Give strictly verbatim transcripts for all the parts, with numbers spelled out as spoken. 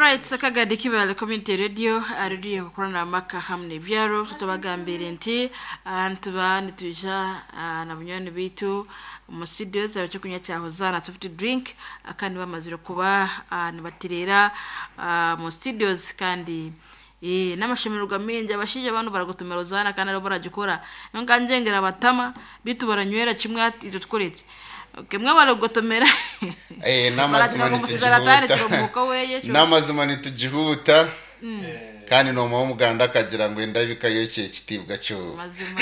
Alright, Sakagadi Kibale Community Radio, radio nkukorana amaka hamwe n'ebyaro. Tutubagambire nti ah, nituba nitwija ah, na bunywani bitu mu studio zaba cyo kunywa cya Hozana soft drink, ah, kandi bamazire kuba ah, nibatirera ah, mu studios. Kandi eh n'amashemererwa mingi, abashije abantu baragutumira Hozana kandi aribo baragikora nkanjengera batama bitu baranywera kimwe ati icyo tukoreke. Okay, mwe baragutumira. Eh, n'amazima Baragira ngo musigara atari ntitugihuta. turumuka weye cyo. N'amazima ntitugihuta, kandi noma w'umuganda akagira ngo endabika yokeye ekitiibwa cyo. Mazima.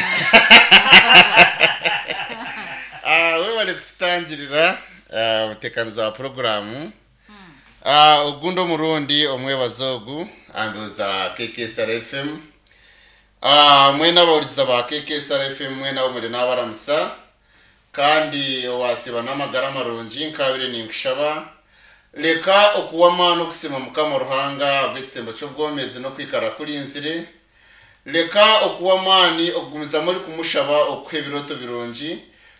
Ah, we bari kututangirira ah, umutekanizi wa porogaramu. Ah, ogundi omurundi omwebazo ogu ambuuza K K S R F M. Ah, mwena abahurikiza ba K K S R F M, mwena abo muri n'abaramusa kandi owasiba n'amagara marungi. Nkabire ninkushaba, leka okuwama n'okusima Mukama Ruhanga bw'ekisembo ky'obwomezi n'okwikara kurinzire. Leka okuwa amaani okugumizamu ori kumushaba okuha ebiroto birungi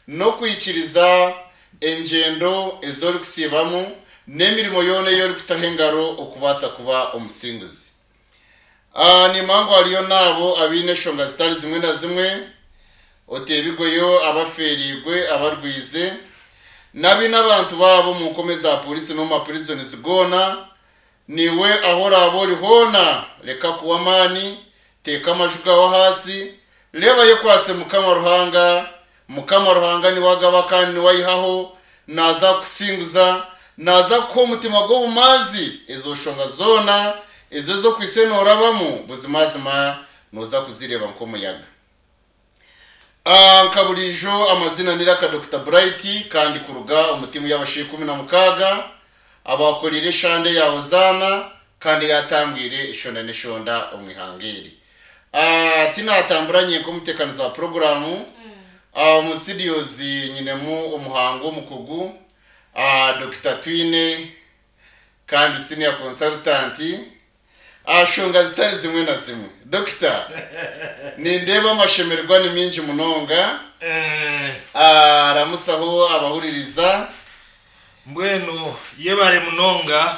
n'okwikiriza engyendo ez'ori kusiibamu n'emirimo yoona ei orikutaho engaro okubaasa kuba omusinguzi. Ah, nimba ngu hariyo naabo abaine eshonga zitari zimwe na zimwe, oteebigweyo abafeeriigwe, abarwize n'abaine abantu baabo omu nkome za polisi n'omu mapurizoni goona. Niwe aho oraaba ori hoona, leka kuwa amaani, teeka amaju gawe hasi, reeba kwase Mukama Ruhanga. Mukama Ruhanga niwe agaba kandi niwe ayihaho. Naza kusinguza, naza kuha omutima gw'obumanzi. Ezo shonga zoona ezo ez'okwise noorabamu, buzimazima noza kuzireeba nk'omuyaga. Ah, nka burijo amazina niraka Doctor Bright, kandi kuruga omu timu y'abashaija ikumi na mukaaga abakorire eshande ya Hozana kandi yatambwire eshonda n'eshonda omu ihanga eri. Ah, tinatamburanye nk'omutekanizi wa porogaramu. Ah, mu studios nyinemu omuhango omukugu, ah, Doctor Twine, kandi senior consultant ashonga zitari zimwe na zimwe. Doctor, nindeba amashemererwa ni mingi munonga. Eh, aramusaho abahuririza. Mbwenu yebare munonga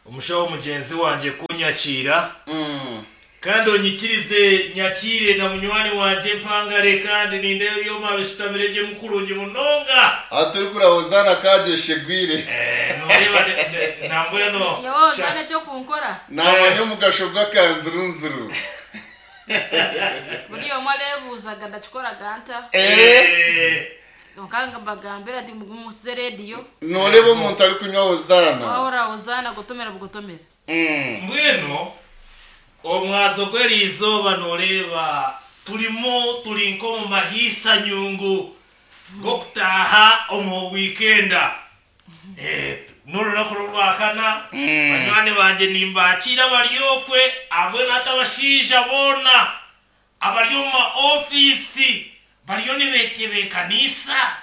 omushaho mugyenzi wangye kunyakiira, Mm. kandi onyikirize nyakiire na munywani wangye mpangare, kandi nindeeba ebyoma bisitamire gye mukurungi munonga. Aha turi kurahozana kagyeshegwire. Eh, noreeba ne- ne- nambwenu Yo, nane cyo kunkora. Namanya omugasho gw'akanzurunzuru. Buri omwe arebuuzaga ndakikoraga nta. Eh, nkanga mbagambira nti mugumusize rediyo. Noreba omuntu ari kunywa Hozana. Wahora Hozana gutomera bugotomera. Mm. Mbwenu omwazo gw'eriizooba noreeba turimo turi nk'omu mahiisa nyungu g'okutaaha omu wiikenda. Eh, n'orunaku rwakana, banywani bangye nimbakiira bari okwe hamwe n'ate abashaija boona abari omu maofiisi bariyo nibetebeekanisa,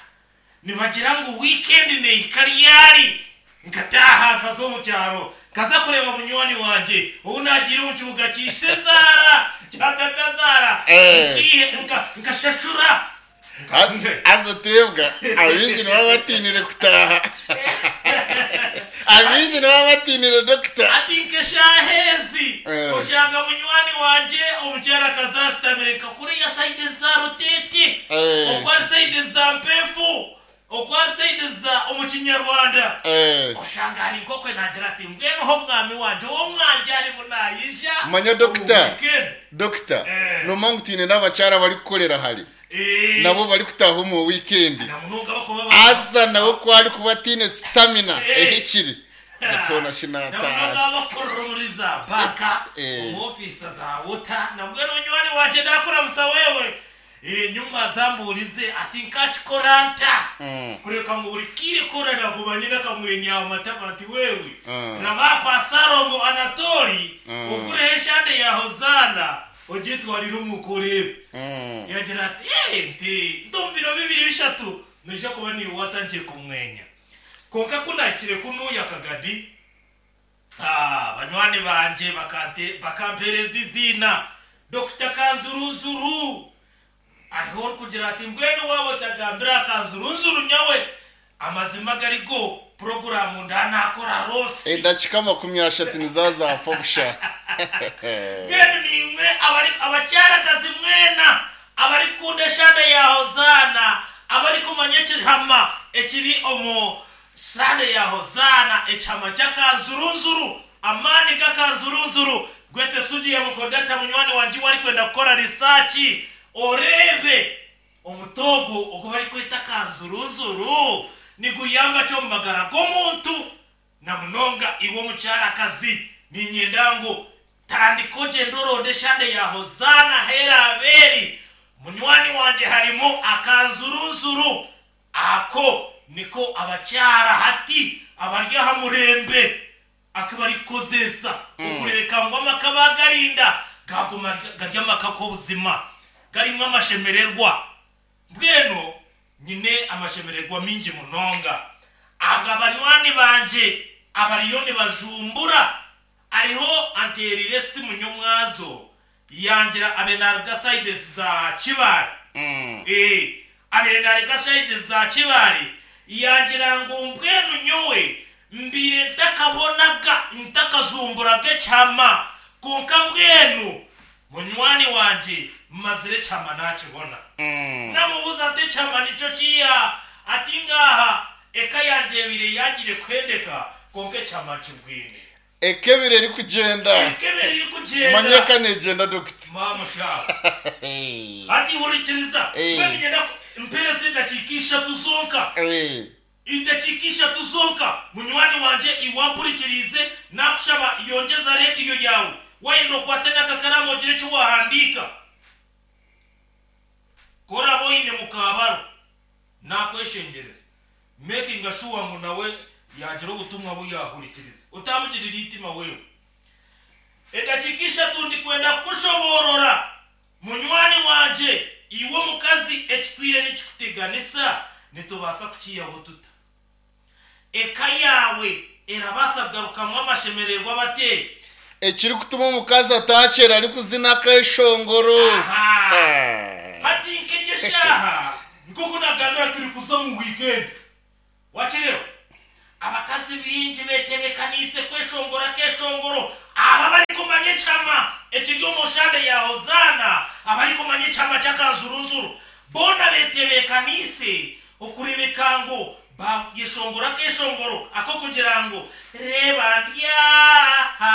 nibagira ngu wiikendi neihika ryari nkataaha nkaza omu kyaro, nkaza kureba munywani wangye ou nagiire omu kibuga kiise zaara kya tata zaara. Eh. Nkihe- nka- nkashashura. Az- azotebwa abingi nibaba batinire kutaha, abingi nibaba batinire, doctor. Ati nkeshahezi Eh. oshanga munywani wangye omukyara akazasitamire nkakuriya side za Rutete, Eh. okwari side za Mpefu, okwari side za omu Kinyarwanda. Eh. Oshanga hari nkokwe nagira ati mbwenuho mwami wanje uwo mwanje ari munayija. Manya, doctor. Weekend. Doctor, Eh. nomanya ngu twine n'abakyara bari kukorera hare, Eh, nabo bari kutaha omu weekend. Na munonga bakuba ba- Aza nawe ko ari kuba atine stamina Eh. ehikire gatona na shinataha. munonga bakorera muri za banka, Eh. mu ofisa za wota. Na mbwenu munywani wanje ndakuramusa wewe. Eh, nyuma zamburize ati nkakikora nta Mm. kureka ngo buri kire korera kumanye n'akamwenya amatama ati wewe, Mm. rabakwa Sarongo Anatoli, Mm. ukureho eshande ya Hozana ogitwarira umukurebe. Mm. Yagira ati "Eh, nti ndumbiro bibiri bishatu nija kuba niwe watangiye kumwenya." Konka kunakire kunuya kagadi, ah, banywani banje bakante bakampereza izina Doctor Kanzurunzuru. Ariho uri kugira ati mbwenu wabo tagambira Kanzurunzuru nyawe amazima garigo. Programu ndanakora rosi. Edakika makumi ashatu nizazafa busha. Mbwenu nimwe abari abakyarakazi mwena abari kukunda eshande ya Hozana, abari kumanya ekihama ekiri omu shande ya Hozana, ekihama ky'akanzurunzuru, amaani g'akanzurunzuru. Gwete sugi ya mukodata munywani wanje wari kwenda kukora research orebe omutogo ogu bari kweta kanzurunzuru niguyamba cyo mumagara g'omuntu na munonga iwe omukyarakazi. Ninyenda ngu tandika ogyende oronde eshande ya Hozana hera aberi munywani wanje harimo akanzurunzuru ako niko abakyara hati abari aha murembe akabarikozesa okureka ngu amaka bagarinda gaguma gari amaka k'obuzima garimwo amashemererwa. Mbwenu nyine amashemererwa mingi munonga abwo abanywani banje abariyo nibajumbura ariho anterire esimu nyomwazo yangira abe naruga side za Kibale. Eh, abere naruga side za Kibale yangira ngu mbwenu nyowe mbire ntakabonaga ntakazumburaga ekyama konka mbwenu munywani wanje mazire ekyama nakibona. Namubuuza ati ekyama nikyo kiya? Ati ngaha eka yanje ebire yagire kwendeka konka ekyama nkibwine. Ekebire eri kugenda. Ekebire eri kugenda. Manyeka negenda dokita. Mama sha ati hurikiriza. Eh. Mbwenu nyenda mpereze endakiika ishatu zonka. Eh. Endakiika ishatu zonka munywani wanje iwampurikirize nakushaba yongeza rediyo yawe wayenda okwate n'akakaramu ogire eki wahandiika koraba oine mukabaro nakweshengereza making sure ngu nawe yagira obutumwa buyahurikiriza utamugirira itima wewe. Endakiika ishatu ndikwenda kushoborora munywani wanje iwe omukazi ekitwire nikikuteganisa nitubaasa kukiyaho tuta eka yawe erabaasa kugarukamu amashemererwa bate. Ekiri kutuma omukazi atakyera ari kuzina akeshongoro. Aha. Ah. Hati nkegeshaha nkoku nagambira turi kuza mu weekend wakireba abakazi bingi betebekanise kweshongora keshongoro aba bari kumanya ekyama ekiri omu shande ya Hozana, abari kumanya ekyama ky'akanzurunzuru bona betebekanise okurebeka ngu bageshongora keshongoro ako kugira ngu reba ndyaha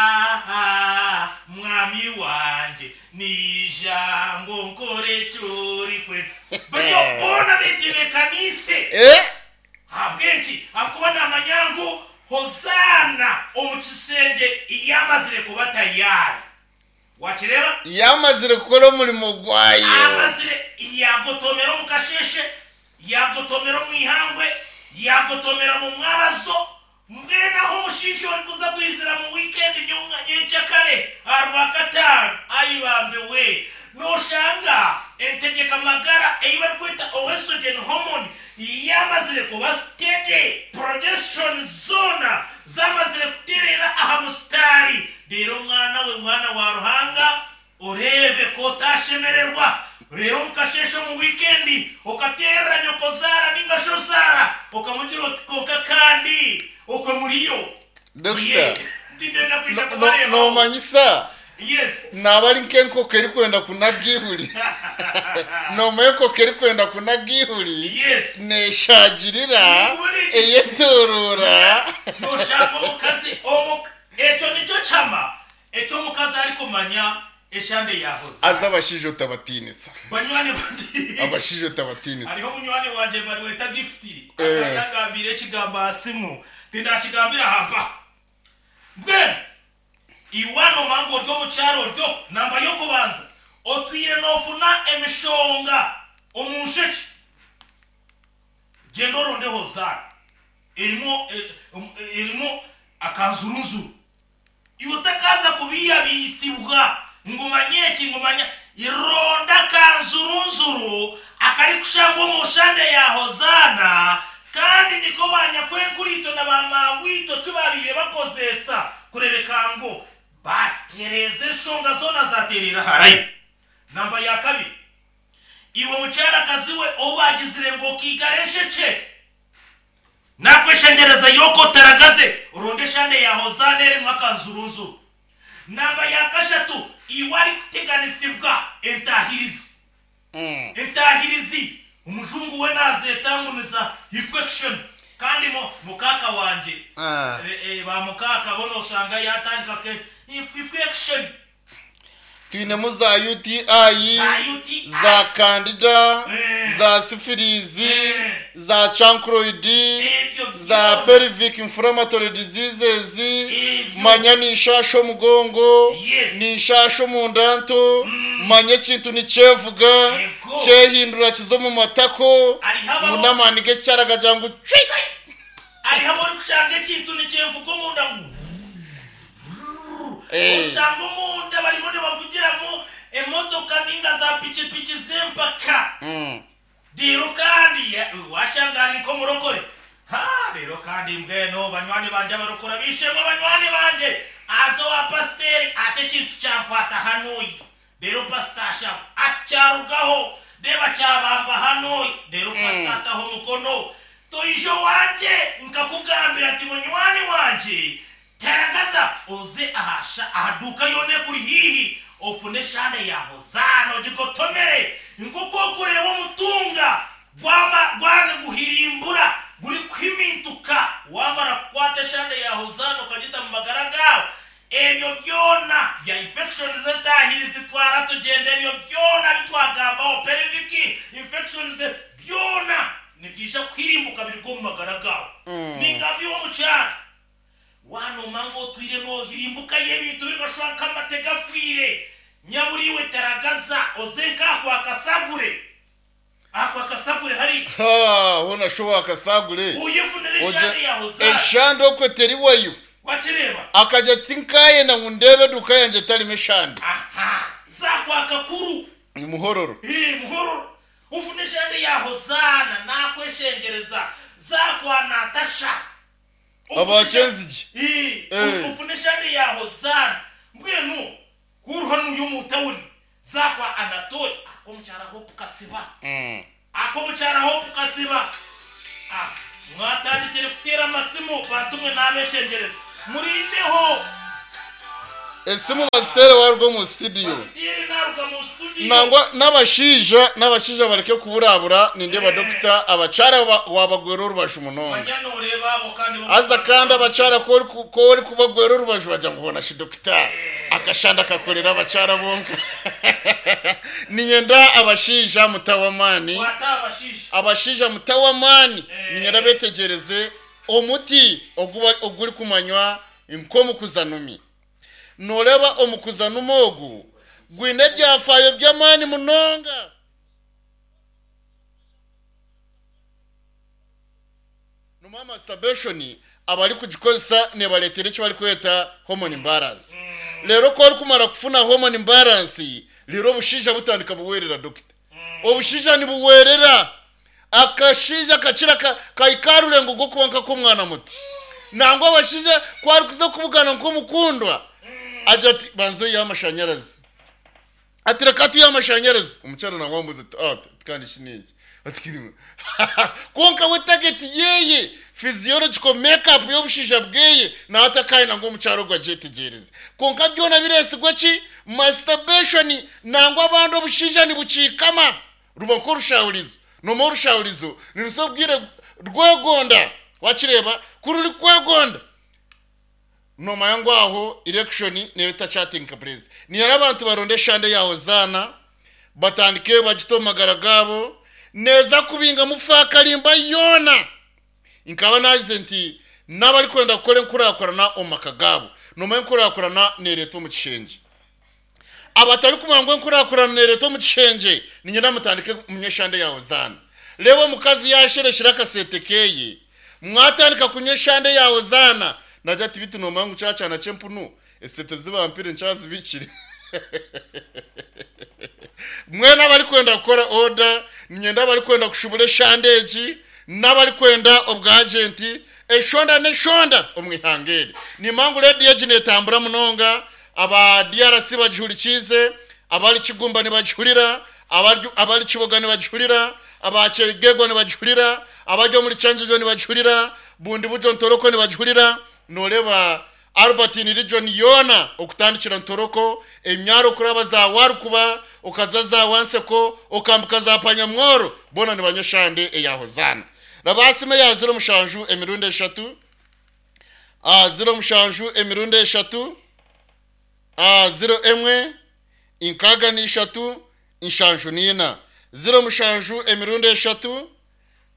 mwami wanje nijango nkore cyuri kwe baryo bona betebekanise. Eh? Habwenki akuba namanyangu Hozana omu kisenge iyamazire kuba tayari wakireba Yamazire kukora omurimo gwayo. Amazire yagotomera omu kasheshe, yagotomera omu ihangwe, yagotomera mu mwabazo. Mbwenu aho omushiisha orikuza kwizira mu weekend nyonga nyenkyakare aha Rwakataano ayibambe we noshanga entegeka magara ei barikweta estrogen hormone yamazire kuba steady, progesterone zona zamazire kuterera aha musitari. Rero mwana we mwana wa Ruhanga orebe ko otashemererwa rero mukasheshe mu weekend okaterera nyoko zara ninga sho zara okamugira oti konka kandi okwe muriyo. Dokita. Ye, ndinenda kwija No- no- kubareba. Nomanyisa Yes. naba ari nk'enkoko erikwenda kunaga ihuri, nomanya enkoko erikwenda kunaga ihuri Yes. neshagirira Niguri. eyetorora. Noshaka omukazi omu ekyo nikyo kyama ekyo omukazi arikumanya eshande ya Hozana. Aza abashaija otabatinisa. Banywani banje Abashaija otabatinisa. hariho munywani wanje bariweta Gift Eh. akayangambira ekigambo aha simu tindakigambira hampa. Mbwenu iwano mangu ori omu kyaro oryo namba y'okubanza otwire nofuna emishonga omu nsheke genda oronde Hozana erimu eh, um, erimu akanzurunzuru iwe utakaza kubiyabisibwa ngumanye eki ngumanya ironda akanzurunzuru akari kushangwa omu shande ya Hozana. Kandi niko banyakwenkurito na bamawito tubabire bakozesa kurebeka ngu batereze enshonga zona zaterera harayi. Namba ya kabiri iwe mukyarakazi we obagizire ngo okigara ensheke Nakweshengereza yoko teragaze oronde shande ya Hozana erimu akanzurunzuru. Namba ya kashatu iwari kuteganisibwa entahirizi. Mm. Entahirizi umujungu we nazetangumiza infection kandi mo mukaka wanje Ah. e, e, ba mukaka bono usanga yatandika ke infection Twinemu za U T I, za U T I, za candida, Eh. za syphilis, Eh. za chancroid, Ebyo za byona. pelvic inflammatory diseases, Ebyo. manya ni nshasha omugongo, Yes. ni nshasha omunda nto, manya ekintu nikyevuga, Ego. kyehindura kiza omu matako, Hariho ababo- ngu n'amaani g'ekyara gagira ngu cwi! Hariho abarikushanga ekintu nikyevuga omunda ngu Eh. Oshanga omunda barimu nibavugiramu emotoka ninga za pikipiki z'empaka. Mm. Rero kandi ya-, washanga ari nk'omurokore. Ha, rero kandi mbwenu banywani banje abarokora bishemwe banywani banje. Aza wa pasiteri ate ekintu kyankwata hanoyi. Rero pasita asha ati kyarugaho, reba kyabamba hanoyi. Rero pasita ataho omukono. Toijo wanje nkakugambira ati munywani wanje teragaza oze ahasha ahaduka yone kuri hihi ofune shande ya Hozana ogigotomere nk'uko okureba omutunga gwama gwane guhirimbura guri kwimintuka wamara kukwata eshande ya Hozana okagita mu magara gawe ebyo byona bya infection z'entahiri zitwara tugenda ebyo byona bitwagambaho pelvic infections byona nibyija kwirimbuka biri mu magara gawe. Mm. Ningambi yo mu cyaro wanoma ngo twire nohirimbuka y'ebintu bigashaka amateka afwire nyaburiwe teragaza oze nk'ako akasagure ako akasagure hari Ha, hona showa akasagure. uyifunire Oje- eshande ya Hozana. Eshande okwe teriwayo. Wakireba Akajya ati nkaye na ngundebe duka yanjye tarimo eshande. Aha, zakwaka kuru. Ni muhororo. Eh, muhororo. Ufune eshande ya Hozana nakweshengereza zakwa Natasha. Abakenzigi. Eh, Eh. ufune eshande ya Hozana. Mbwenu kuru hano yo mu town zakwa Anatole akomukyara Hope Kasiba. Mm. Akomukyara Hope Kasiba. Ah, mwatandikire kutera amasimu bantumwe n'abeshengereza. Murindeho. Esimu bazitere warwo mu studio. Bazitere naruga mu studio. Nangwa n'abashija n'abashija bareke kuburabura ninde ba doctor abacara wabagwera urubashu munonga. Banyanore babo kandi bo- Aza kandi abacara ko uri ku- ko uri kubagwera urubashu bajya ngo ubona shi doctor akashanda akakorera abacara bonka. Ninyenda abashija mutawamani. Wata abashija. Abashija mutawamani. Eh. Ninyenda betegereze omuti oguba oguri kumanywa nkomukuzanumi. Noreba omukuzanumi ogu gwine ebyafayo by'amaani munonga. Numa masturbation abari kugikozesa nebaretera eki barikweta hormone imbalance. Rero ko ori kumara kufuna hormone imbalance rero obushija butandika buwerera doctor. Obushija nibuwerera akashija kakira ka-, kaikarure ngo gwo kuba nk'akomwana muto. Nangwa abashija kwari kuza kubugana nk'omukundwa aja ati banzo y'amashanyarazi. Ati reka tuye amashanyarazi. Omukyara nawe ambuza ati, ah, kandi iki ni iki? Ati, kirimo. Konka we target yeye physiological makeup y'obushija bweye nawe atakaye nangwa omukyaro gwe agyetegereze. Konka byona biresigwa ki? Masturbation nangwa abandi obushija nibukiikama. Ruba nk'orushahurizo. Noma orushahurizo nirusobwire rwegonda. Wakireba kuri uri kwegonda. Noma yangu aho erection niyo itachatinka please. Ni yari abantu baronde eshande ya Hozana batandike bagito magara gabo neza kubinga mufakarimba yona. Nkaba nagize nti n'abari kwenda gukora enkurakurana omu maka gabo. Noma enkurakurana nereeta omu kishengye. Abatari kumanya ngu enkurakurana nereeta omu kishengye niinyenda mutandike munye eshande ya Hozana. Reeba omukazi yashereshera akasente keye mwatandika kunywa eshande ya Hozana najya ati bitu nomanya ngu kyakyana ky'empunu esente zibampire nkyazibikire. Mwena abari kwenda kukora order, niinyenda abari kwenda kushubura eshande egi, n'abari kwenda obwagenti, eshonda n'eshonda omu ihanga eri. Nimanya ngu rediyo egi neetambura munonga, aba D R C bagihurikiize, abari Kigumba nibagihurira, abari, abari Kiboga nibagihurira, Abakyegegwa nibagihurira, abari omuri Kyanjunjo nibagihurira, Bundi Bujo Ntoroko nibagihurira. Nooreba Albertine region yoona, okutandikira Ntoroko, emyaro kuraba za Warukuba, okaza za Wanseko, okambuka za Panyamworo, boona nibanywa eshande eya Hozaana. Rabaasime ya ziro mushanju emirundi eshatu, ah, ziro mushanju emirundi eshatu, ah, ziro emwe inkaaga n'ishatu nshanju n'ina, ziro mushanju emirundi eshatu,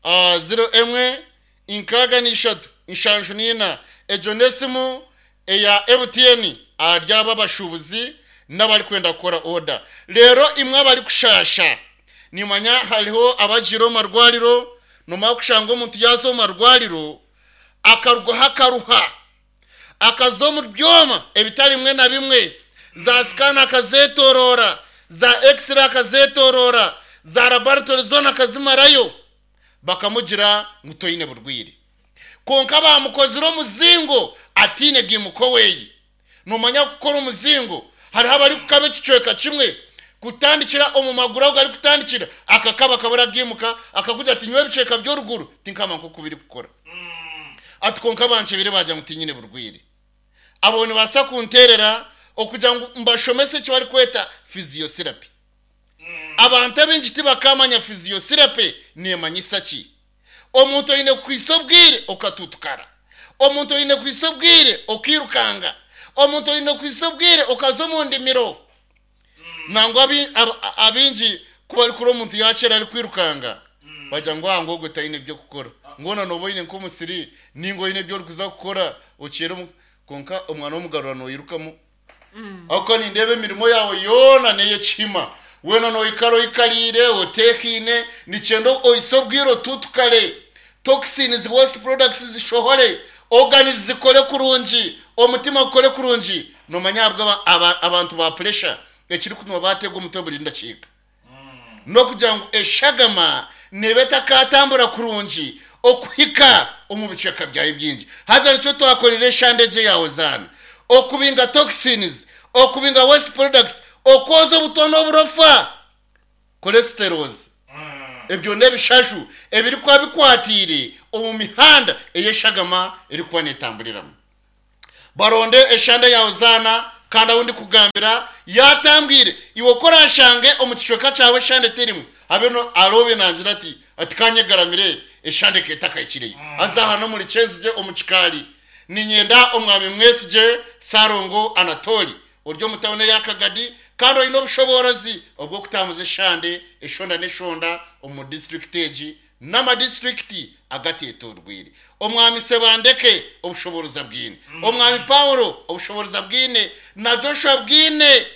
ah, ziro emwe inkaaga n'ishatu nshanju n'ina. Egyo n'esimu eya M T N ahari aba abashuubuzi n'abarikwenda kukora oda. Rero imwe abarikushasha, nimanya hariho abagiire omu marwariro. Nomara kushanga omuntu yaza omu marwariro akarugaho akaruha, akaza omu byoma ebitari bimwe na bimwe, za scan akazetorora, za x-ray akazetorora, za laboratory zona akazimarayo, bakamugira ngu toyine burwire, konka bamukozire omuzingo atiine gimuko weyi. Nomanya kukora omuzingo, hariho abari kukaba ekicweka kimwe kutandikira omu maguru, aho gari kutandikira akakaba kabura gimuka, akakugira ati nyowe ebicweka by'oruguru tinkama nkoku biri kukora. Ati konka bankebire bagira ngu tinyine burwire. Abo nibaasa kunterera okugira ngu mbashomese eki barikweta physiotherapy. Abantu abaingi tibakamanya physiotherapy neemanyisa ki. Omuntu oine kwisa obwire okatutukara, omuntu oine kwisa obwire okirukanga, omuntu oine kwisa obwire okaza omu ndimiro. Nangwa abi- ab- abingi ku barikura omuntu yakyera ari kwirukanga, bagira ngu aha ngogwe tayine ebyokukora, ngona noba oine nk'omusiri ninga oine ebyo orikuza kukora okyere omu- konka omwana w'omugarura noyirukamu, aho nindeeba emirimo yawe yoona neyekihima, weena noikara oikariire oteekaine. Nikyenda oise obwire otutukare, toxins, waste products zishohore, organs zikore kurungi, omutima gukore kurungi. Nomanya ahabwa aba- aba- abantu ba pressure ekiri kutuma bateega omutwe buri ndakiika, n'okugira ngu eshagama neba etakatambura kurungi okuhika omu bicweka byawe bingi. Haza nikyo twakorera eshandege yawe zaana, okubinga toxins, okubinga waste products, okwoza obutwa n'oburofa, cholesterols, ebyo n'ebishashu ebirikuba bikwatiire omu mihanda ey'eshagama erikuba neetamburiramu. Baronde eshande yawe zaana. Kandi aho ndikugambira yatambwire, iwe korashange omu kicweka cyawe eshande terimu, habe no arobe nangira ati ati kanyegaramire eshande ketakahikireyo. Aza hano muri Kyenzige omu kikaari, ninyenda omwami Mwesigye Sarongo Anatoli ori omu tawuni y'Akagadi, kandi oine obushoborozi obw'okutambuza eshande eshonda n'eshonda omu disitulikiti egi n'amadistrict agatetorwire. Omwami Sebandeke obushoborozi bwine, omwami Paulo obushoborozi bwine, na Joshua bwine,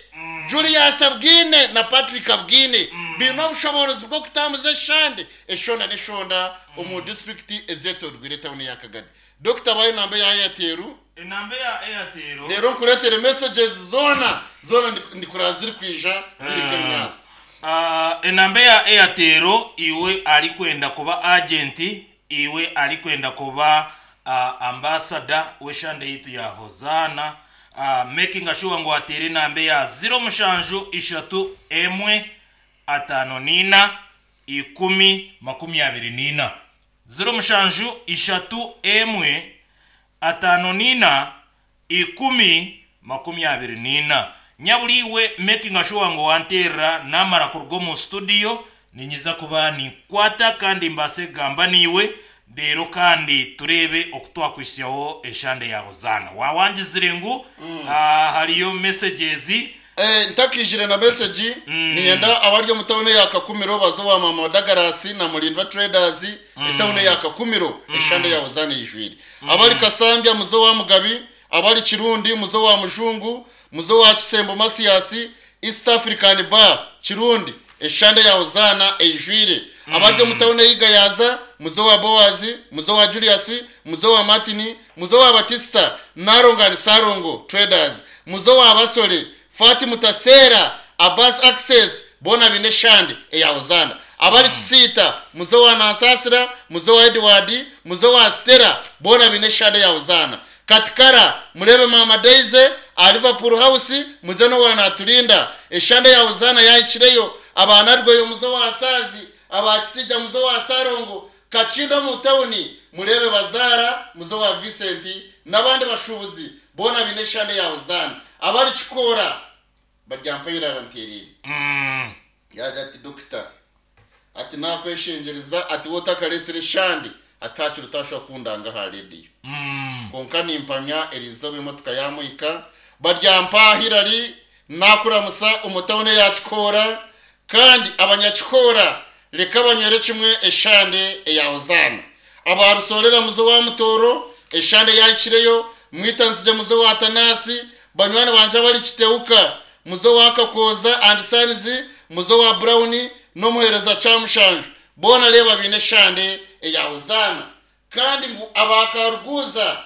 Julius bwine, na Patrick bwine, biine obushoborozi bw'okutambuza eshande eshonda n'eshonda omu disitulikiti ezetorwire tawuni y'Akagadi. Dokita, bayo namba ya Airtel. Enamba ya Airtel. Rero nkuretere messages zona zona ndi- ndikura ziri kwija ziri kerinyaasi. Ah, enamba ya Airtel, iwe ari kwenda kuba agent, iwe ari kwenda kuba uh, ambassador w'eshande yitu ya Hozana, uh, making sure ngo atere enamba ya ziro mushanju ishatu emwe atano nina ikumi makumi abiri nina, ziro mushanju ishatu emwe atano nina ikumi makumi abiri nina. Nyaburiwe making sure ngo wanterera, namara kuruga omu studio ninyiza kuba ninkwata kandi mbase kugamba niwe, rero kandi turebe okutwakwisyaho eshande ya Hozana. Wawangizire ngu mm. hariyo messages. Eh, ntakijire na message, niyenda abari omu tawuni ya Kakumiro bazo wa mama Dagarasi na Mulindwa Traders. Etawuni ya Kakumiro eshande ya Hozana yijwire. Abari Kasambya muzo wa Mugabi, abari Kirundi muzo wa Mujungu, muzo wa Kisembo Masiasi, East African Bar Kirundi, eshande ya Hozana eyijwire. Abari omu tawuni yigayaza muzo wa Boazi, muzo wa Julius, muzo wa Martini, muzo wa Batista, Narongani Sarongo Traders, muzo wa Basole Fati Mutasera, Abbas Access, bona bine shande eya Hozana. Abari Kisita muzo wa Nansasira, muzo wa Edward, muzo wa Stella, bona bine shande ya Hozana. Katikara murebe mama Daisy a Liverpool House, muze no wa Natulinda, eshande ya Hozana yayikireyo. Abana rweyo muzo wa Sazi. Abakisija muzo wa Sarongo, Kachindo mu tawuni, murebe Bazara muzo wa Vincent n'abandi bashubuzi bona bine shande ya Hozana. Abari Kikora baryampayira ranterere. Mm. Yaja ati dokita, ati nakweshengereza, ati wotakaresire shande atakiri utashobora kundanga ha radio. Mm. Konka nimpamya erizoba emotoka yamuhika. Baryampa Hilary nakuramusa umutawune yakikora, kandi abanyakikora reka banywere kimwe eshande eya Hozana. Abarusorera muzo wa Mutoro eshande yakireyo, mwitanzije muzo wa Tanasi, banywani banje bari Kiteuka muzo wa Kakoza and Sons, muzo wa Brown n'omuhereza Kyamushanju, bona reba bine eshande eya Hozana. Kandi ngu abakaruguza,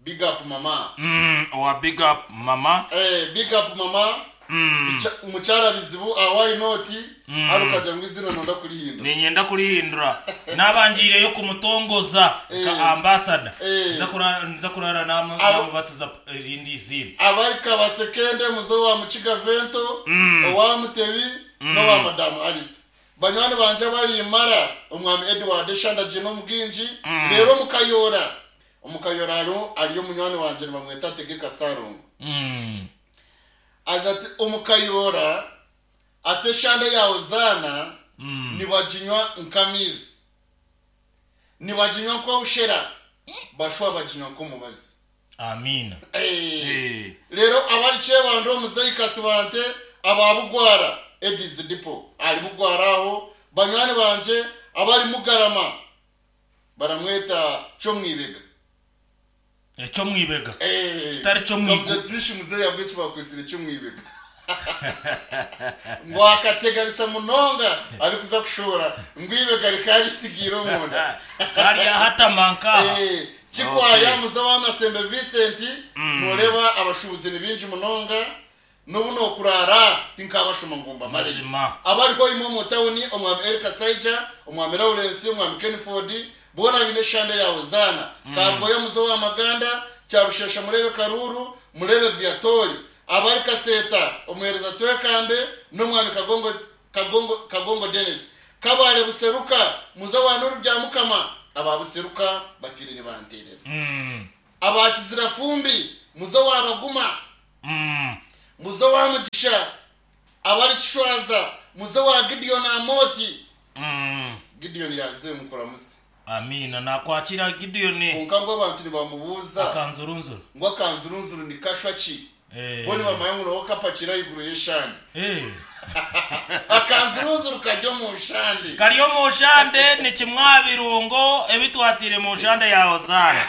big up mama. Mm, owa big up mama. Eh, big up mama. Mm. Mukyara bizibu awai noti mm. arukaja ngo izina nonda kurihindura. Ninyenda kurihindura. Nabangireyo kumutongoza Eh. ka ambassador. Eh. Nza kurara nza kurara namu Abo- namubatiza irindi zina. Abari kabasekende muzo wa Mukiga Vento, Mm. owa Mutebi no wa Madam Alice. Banywani banje bari imara omwami Edward Shanda Jino Muginji, rero mukayora. Omukayora aro ariyo munywani wanje bamweta Tegeka Sarungu. Mm. Aza ati omukayora ate shande ya Hozana Mm. nibaginywa nkamizi, nibaginywa nk'obushera, bashwa baginywa nk'omubazi. Amina. Eh. Eh. Rero abari kyebando omuzeyi Kasibante ababugwara Edis Dipo ali bugwara aho. Banywani banje abari Mugarama baramweta cyo mwibega. Ecyo mwibega. Eh. Kitari cyo mwigu. Dr. Trish muzeyi yabwiye bakwesire cyo mwibega. Ngo akateganisa munonga ari kuza kushora ngwibega rikari sigiro munda. Kari hatamanka. Eh, Kikwaya Okay. muzo wa Masembe Vincent, nureba abashubuzi ni binji munonga nubu no kurara tinkabashuma ngumba mare. Mazima. Abariko imwe mu tawuni omwami Eric Saija, omwami Lawrence, omwami Kenford, bona bine shande ya Hozana. Kagoya muzo wa Maganda, Cyarushesha murebe Karuru, murebe Viatori. Abari Kaseta, omuhereza Twekambe n'omwami Kagongo Kagongo Kagongo Dennis. Kabale Buseruka, muzo wa Nuru bya Mukama, aba Buseruka batirire banterera. Mm. Abakizira fumbi, muzo wa Baguma, Mm. muzo wa Mugisha, abari Kishwaza, muzo wa Gideon Amoti. Mm. Gideon yaze mukora musi. Amina nakwakira Gideon. Konka ngo abantu nibamubuza Akanzurunzuru. ngo akanzurunzuru ni kashwa ki? Eh. Bo nibamanya ngo nawo kapakira iguru y'eshandi. Eh. Akanzurunzuru kajya mu shandi. Kariyo mu shande ni kimwa birungo ebitwatire mu shande ya Hozana.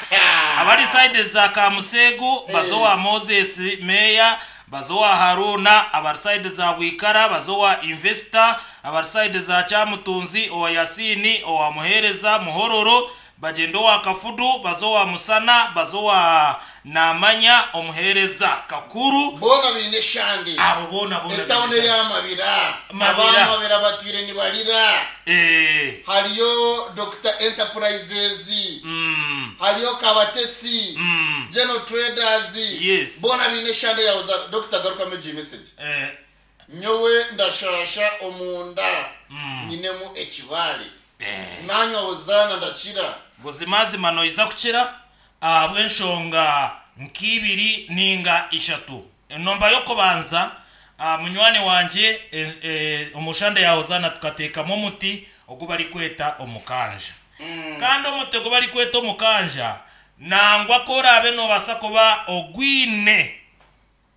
Abari side za Kamusegu bazo wa Moses Meya, bazo wa Haruna, abari side za Wikara bazo wa Investor, abari side za Cyamutunzi owa Yasini owa Muhereza Muhororo, bagendo wa Kafudu bazo wa Musana bazo wa Namanya omuhereza Kakuru. Bona bine shande. Abo bona bona Etawune bine shande. y'Amabira. Mabira. Abamabira batwire nibarira. Eh. Hariyo Doctor Enterprises. Mm. Hariyo Kabatesi. Mm. General Traders. Yes. Bona bine shande ya Hozana. Doctor garuka meji message. Eh. Nyowe ndashasha omunda. Mm. Nyinemu ekibale. Eh. Nanywa Hozana ndakira. Buzimazima noiza kukira ahabw'enshonga nk'ibiri ninga ishatu. Enomba y'okubanza, ah, munywani wanje, eh, eh, omushande ya Hozana tukateekamu omuti ogu barikweta omukanja. Kandi omuti ogu barikweta omukanja nangwa ku oraabe noobaasa kuba ogwine,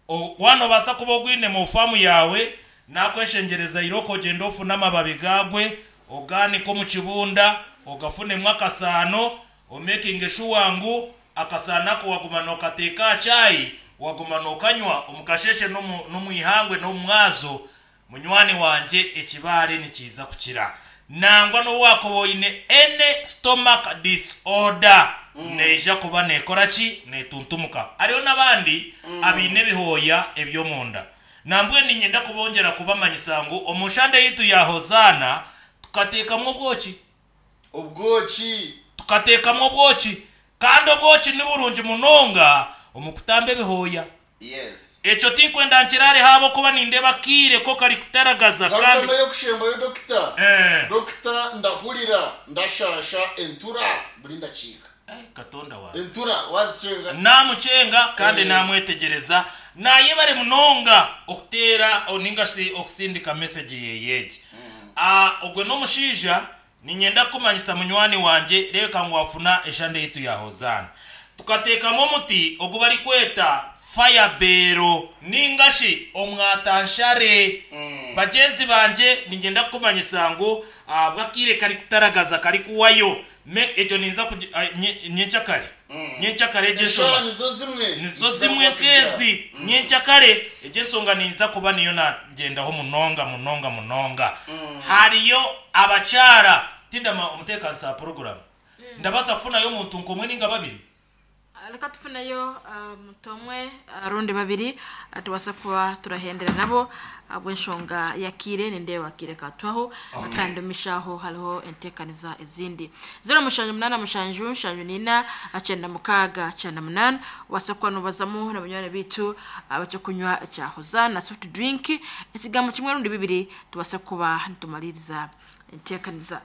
o- wanobaasa kuba ogwine mu faamu yaawe, nakweshengereza iroko ogende ofune amababi gagwe oganika omu kibunda ogafunemu akasaano, omekinge shuwa ngu akasaano ako waguma nokateeka aha chai, waguma nokanywa omukasheshe n'omu- n'omwihangwe n'omumwazo, munywani wanje ekibaare nikiiza kukira. Nangwa n'owakuba oine any stomach disorder neija kuba nekora ki? Netuntumuka. Hariho n'abandi abaine ebihooya eby'omunda. Nambwe ninyenda kubongera kubamanyisa ngu omushande yitu ya Hozana tukateekamu obwoki. Obwoki. Tukateekamu obwoki. Kandi obwoki ni burungi munonga omu kutamba ebihooya. Yes. Ekyo tinkwenda nkirare habo kuba nindeba kiire ko kari kutaragaza kandi Garukama yokushembayo dokita. Eh. Dokita, ndahurira ndashasha entura buri ndakiika. Eh, katonda wawe. Entura wazicenga. Namucenga kandi Eh. namwetegereza naye bari munonga okuteera ninga si okusindika message yeyegi. Ah, ogwe n'omushaija ninyenda kumanyisa munywani wanje, reka ngu wafuna eshande yitu ya Hozana, tukateekamu omuti ogu bari kweta firebero ningashi omwatanshare. Bagenzi banje, ninyenda kumanyisa ngu ah, bwakire kari kutaragaza kari kuwayo. Me- ekyo ninza kugi- ah, nye- nyenkyakare nyenkyakare egyo Eshara ensonga nizo zimwe. Nizo zimwe kezi nyenkyakare egyo ensonga ninza kuba niyo nagendaho munonga munonga munonga. Hariyo abakyara tindama omuteekanisa wa poroguramu, ndabaza kufunayo omuntu nkomwe ninga babiri. Reka tufuneyo omuntu omwe rundi babiri, ah, tubase kuba turahendera nabo bw'enshonga yakire nindeba akire katwaho kandi omishaho hariho entekaniza ezindi zero mushanju munana mushanju nshanju nina acyenda mukaaga cyenda munana. Ubase kuba nubazamu na banywani bitu abacyo kunywa cya na soft drink, ekigambo kimwe rundi bibiri tubase kuba nitumaliriza entekaniza.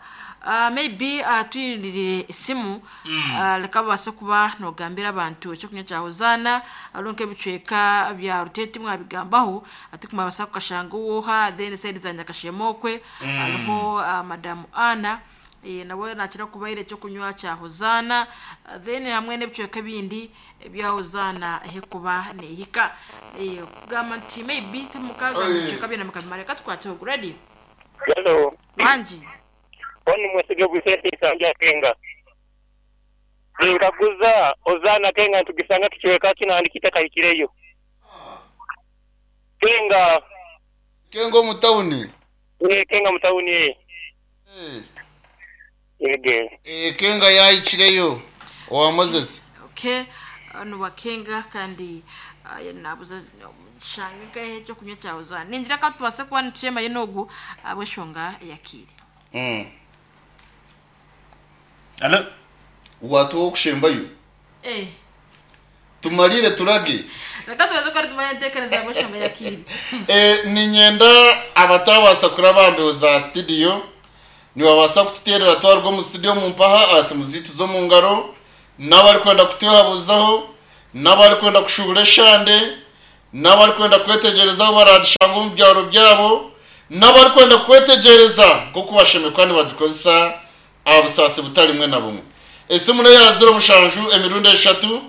Uh, maybe uh, tuyirindirire esimu mm. uh, reka babase kuba nogambira abantu ekyokunywa kya Hozana aronke ebicweka bya Rutete mwabigambaho ati kumabasa kukashanga uwoha then side za Nyakashemokwe hariho uh, madamu Ana eh, nawe nakira kubaire ekyokunywa kya Hozana, uh, then hamwe n'ebicweka ebindi ebya Hozana ehekuba nehika eh, kugamba nti maybe timukaga Oye. ebicweka byona mukabimara. Reka tukwate ready. Hello. Wanji. Oni mwesige bwisese isanja kenga. Ninkaguza Ozana kenga ntugisanga kichweka kinandikita kahikireyo. Kenga. Kengo mutawuni. Eh, kenga mutawuni eh. Eh. Yege. Eh, kenga yayikireyo owa Moses. Okay, ano bakenga kandi uh, nabuza shange gahe cyo kunywa cya Hozana ninjira ka tubase kuba nituyema yenogu abweshonga yakire. Mm. Alo. Watu wokushembayo. Eh. Tumalire turage. Reka tubaze ko tumanye entekereza abweshonga yakire. Eh, ninyenda abatabasa kurabambeho za studio niwabasa kututerera twarwo mu studio mu mpaha asimu zitu zo mu ngaro, n'abari kwenda kutuhabuzaho, n'abari kwenda kushubura eshande, n'abari kwenda kwetegerezaho baragishanga omu byaro byabo, n'abari kwenda kwetegereza nk'oku bashemekwa nibadukozesa aha busaasi butari bumwe na bumwe. Esimu neya zero mushanju emirundi eshatu,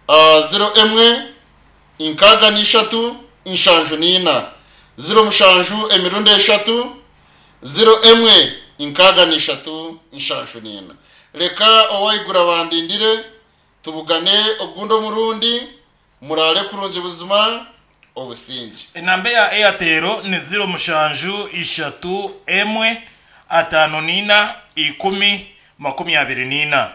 ah, zero emwe inkaga n'ishatu inshanju n'ina, zero mushanju emirundi eshatu zero emwe inkaga n'ishatu inshanju n'ina. Reka owayigura bandindire tubugane ogundi omurundi murare kurungi buzima obusingi. Enamba ya Airtel ni ziro mushanju ishatu emwe atano nina ikumi makumi abiri nina.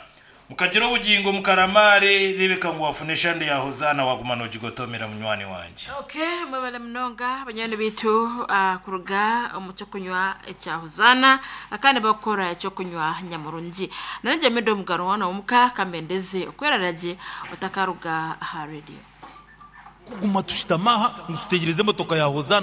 Mukagira obugingo mukaramare rebeka ngu wafune eshande ya Hozana waguma nogigotomera munywani wanje. Okay, mwebale munonga banywani bitu uh, kuruga omu kyokunywa ekya Hozana akandi bakora ekyokunywa nyamurungi. Nanjye mido mugaro wana omuka kamendeze okwerarage otakaruga aha radio. Kuguma tushitamaha ngo tutegereze emotoka ya Hozana.